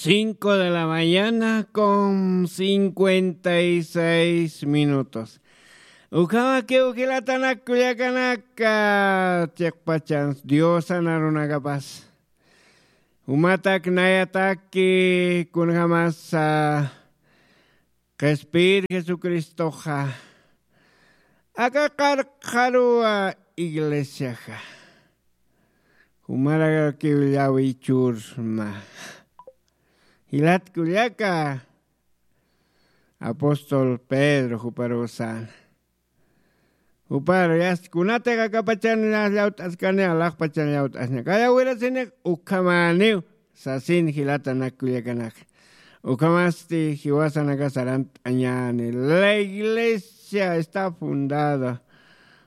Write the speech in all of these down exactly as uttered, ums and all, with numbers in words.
Cinco de la mañana con cincuenta y seis minutos. Ukhamakiw jilatanak kullakanaka, chiqpachans Diosan arunakapas. Jumatak nayataki kunjamasa qhispir Jesucristoxa aka qarqaruwa iglesiaxa. Jumarakiw llawichurma. Jilat kullaka, apóstol Pedro juparuw sän. Juparu yast kunatix akapachan llawt'askani, alaxpachan llawt'asña. Kayawirasinix ukhamäniw sasin jilatanak kullakanaka. Ukhamasti jiwasanakas arant'añäni. La iglesia está fundada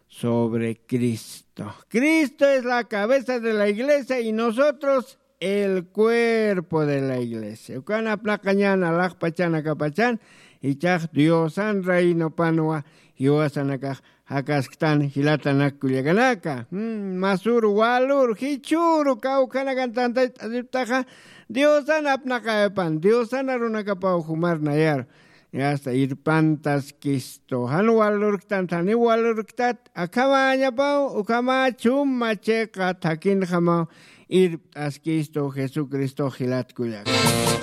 sobre Cristo. Cristo es la cabeza de la iglesia y nosotros el cuerpo de la iglesia. Ukan apnaqañän alaxpachan akapachan, ichax Diosan reinopanwa jiwasanakax jakasktan jilatanak kullakanaka. Mm, masür walür jichhüru kawkhanakan tantayt'asiptaxa, Diosan apnaqayapan, Diosan arunakapaw jumar nayaru. Yasta irpantaskistu. Jan walürktan, janiw walürktat, akhamäñapaw, ukhamä chuma chiqa thakinjamaw irpt'askistu Jesucristo jilat kullaka.